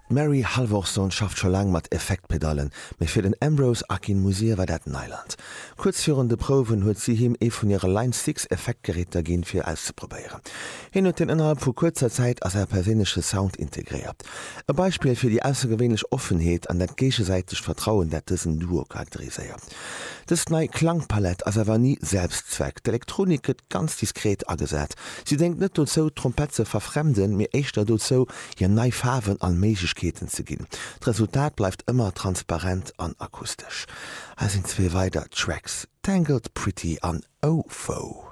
D'Mary Halvorson schafft scho laang mat Effektpedallen, mee fir den Ambrose Akinmusire war dat Neiland. Kuerz virun de Prouwen huet si him ee vun hire Line 6 Effektgeräter ginn, fir auszeprobéieren. Hien huet deen ënnerhalb vu kuerzer Zäit a säi perséinleche Sound integréiert. E Beispill fir déi aussergewéinlech Offenheet an dat géigesäitegt Vertrauen, dat dësen Duo charakteriséiert. Dës nei Klangpalett ass awer ni Selbstzweck. D'Elektronik gëtt ganz diskret agesat. Si déngt net dozou, d'Trompett ze verfremden, mee éischter dozou, hir nei Faarwen an Méiglechkeeten ze ginn. D'Resultat bleift ëmmer transparent an akustesch. Hei sinn zwee weider Tracks, Tangled Pretty an Oh Foe.